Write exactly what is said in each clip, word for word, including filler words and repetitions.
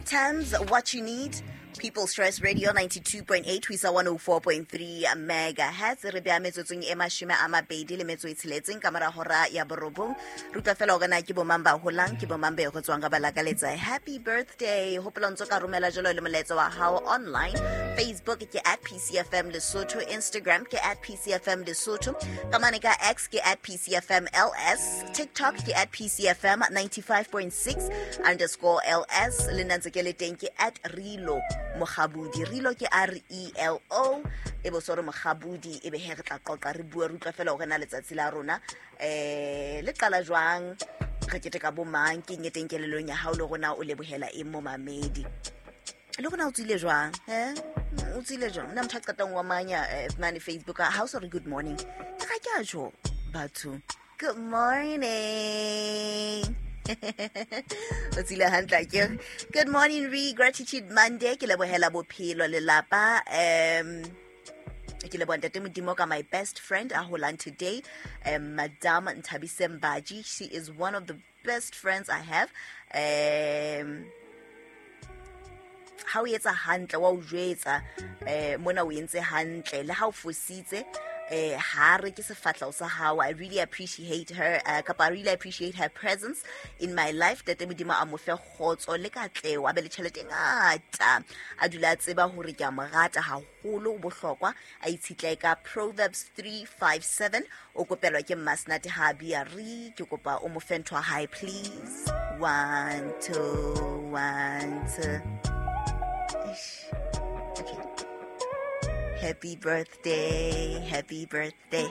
Tams, What You Need. People's Choice Radio ninety-two point eight ho isa one oh four point three megahertz. Re beha metsotsong e mashome a mabedi le metso e tsheletseng ka mora hora ya borobong. Re utlwa fela hore na ke bomang ba holang, ke bomang ba e go tswang ka ba lakaletsa happy birthday. Hopola ntso ka romela jalo le molaetsa wa hao online. Facebook ke at P C F M Lesotho, Instagram ke at P C F M Lesotho, ka mane ka X ke at P C F M L S, TikTok ke at P C F M ninety-five point six underscore L S. Le nna ntse ke le teng ke at Relo Mokgabudi. Relo ke R E L O, e bo sore Mokgabudi. E be he re tla qoqa, re bue, re utlwa fela hore na letsatsi la rona eh le qala jwang, re keteka bo mang, ke eng e teng kelellong ya hao, le rona o lebohela eng mo mamedi, le rona o tswile jwang, he o tswile jwang. Nna motho a qetang wa manya eh, mane Facebook ha o so re good morning, ke ga ke a tjho batho good morning, o tsile hantle akere. Good morning re, gratitude Monday. Ke lebohela bophelo, lelapa, um ke leboha Ntate Modimo ka my best friend a holang today, um Madam Nthabiseng Baji. She is one of the best friends I have. um Ha o etsa hantle wa o jwetsa, eh mona o entse hantle, le ha o fositse eh ha re ke sefatlao sa hao. I really appreciate her, uh, kapa I really appreciate her presence in my life. Tate Modimo a mo fe kgotso le katleho, a be le tjhelete e ngata, a dula a tseba hore ke a mo rata haholo, o bohlokwa. A itshetlehe ka Proverbs three five seven. O kopelwa ke Mmasnate ha bia re ke kopa o mo fe ntho ya hae, please. One two one two. Eish. Okay. Happy birthday, happy birthday,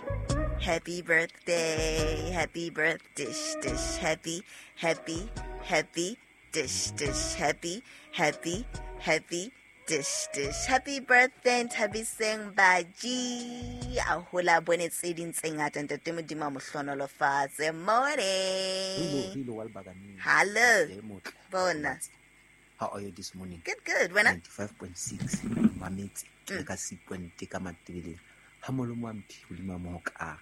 happy birthday, happy birthday, dish, dish, happy, happy, happy, dish, dish, happy, happy, happy, dish, dish. Happy birthday, Nthabiseng Baji. A hola bone tse ding tse ngata, Ntate Modimo a mo hlohonolofatse. Morning. Rilo, Rilo wa Lebakane. Hello. Le motle. Bona. How are you this morning? Good, good. Wena? ninety-five point six mametse le ka sequent ka Matebeleng ha molomo wa mphi hodima mohokare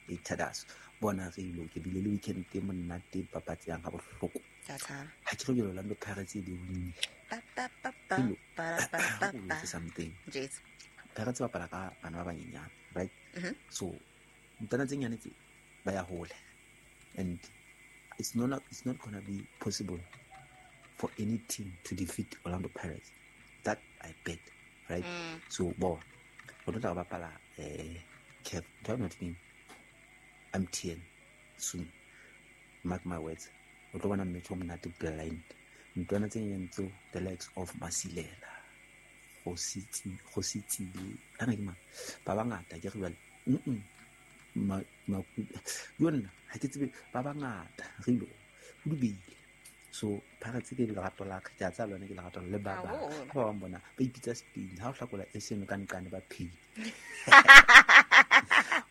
e thadaso bona. Rilo, ke bile le weekend e monate, papatseyang ha bohloko. Tata. Ha ke re jalo, Orlando Pirates e di winne. Ba ba ba ba Rilo, ba ba ba o ba. jwetse something. Jeez. Pirates bapala ka bana ba banyenyane, right? Mhm. So ntwana tse nyane tse ba ya hole, and it's not it's not gonna be possible for any team to defeat Orlando Pirates. That I bet, right? Mm. So bo re tlo tla re bapala eh C A F, do not mean M T N soon. Mark my words, o tlo bona match o monate blind. Ntwana tse nyenyane tseo, the likes of Masilela, go Setsile, ana ke mang, ba bangata ke re jwale mm ma ma yo nna ha ke tsebe, ba bangata re ilo ho dubile. So Pirates ke lerato la ka, ke a tsaya lona ke lerato le ba bang. Haholo. Ha ba bang bona ba ipitsa Spain, ha o hlakola S N ka nqane ba phele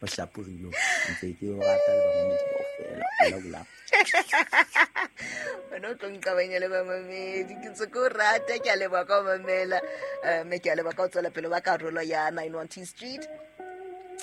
o shapo. Rilo, ntse ke o rata le bamamedi kaofela. Hola bola. Wena o tlo nqabanya le bamamedi. Ke ntse ke o rata, ke a leboha ka ho mamela, eh, mme ke a leboha ka ho tswela pele ba karolo ya nine one two Street.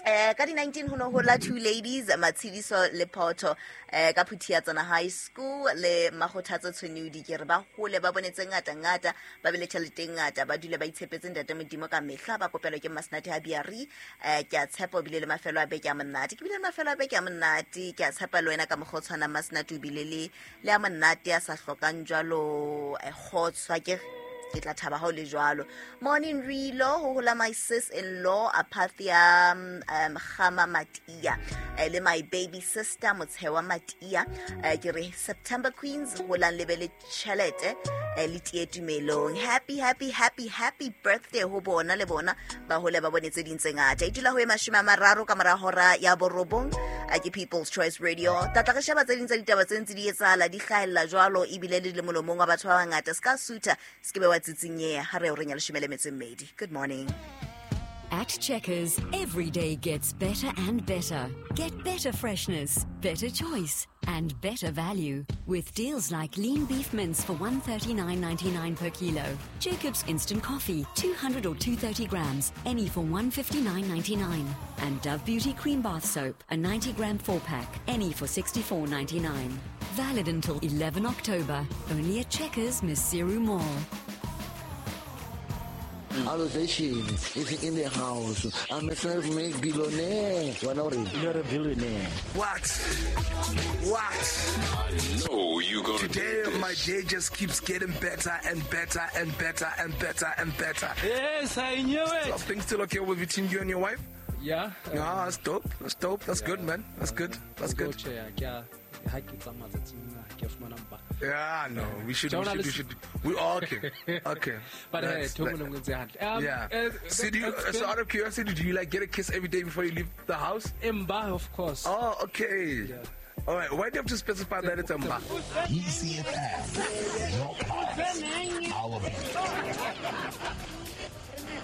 Eh ka di nineteen ho no hola two ladies, Matshidiso le Poto, eh ka Phuthiatsana High School le Magothatso Tshwenudi. Ke re ba hole, ba bone tse ngata ngata, ba be le tjhelete e ngata, ba dule ba itshepetse Ntate Modimo ka mehla. Ba kopelwa ke Masnate ha Biari. eh ke a tshepa o bile le mafelo a beke a monate. Ke bile le mafelo a beke a monate, ke a tshepa le wena ka mokgwa o tshwanang, Masnate, o bile le le a monate a sa hlokang jwalo eh, kgotso ke ke tla thaba ha o le jwalo. Morning Rilo, ho hola my sis in law Apathia um, um Gama Matia, eh, le my baby sister Motshewa Matia. eh, ke re September Queens, holang le be le tjhelete, eh, le tie tumelong. Happy, happy, happy, happy birthday ho bona, le bona ba hole ba bone tse ding tse ngata. E dula ho e mashome a mararo ka mora hora ya borobong. A ke People's Choice Radio. Tlatla re sheba tse ding tsa ditaba tse ntse di etsahala, di hlahella jwalo, ebile le le molomong wa batho ba bangata. Se ka sutha, se ke be wa tsitsinyeha ha re o reng ya leshome le metso e mmedi. Good morning. At Checkers, every day gets better and better. Get better freshness, better choice, and better value with deals like lean beef mince for one thirty-nine ninety-nine per kilo, Jacob's instant coffee, two hundred or two thirty grams, any for one fifty-nine ninety-nine, and Dove Beauty cream bath soap, a ninety gram four pack, any for sixty-four ninety-nine. Valid until eleven October. Only at Checkers Maseru Mall. Allocation is in the house. I'm a self-made billionaire. You're a billionaire. What? What? I know you gonna Today, do this. My day just keeps getting better and better and better and better and better. Yes, I knew it. So, things still okay with between you and your wife? Yeah. Um, yeah, that's dope. That's dope. That's yeah, good, man. That's good. That's good. Yeah, no, we should, we should, we should, we all okay, okay. But hey, um, yeah. Uh, so, do you, so out of curiosity, do you like get a kiss every day before you leave the house? Mba, of course. Oh, okay. Yeah. All right. Why do you have to specify that it's Mba? E C F M, your pulse, our beat.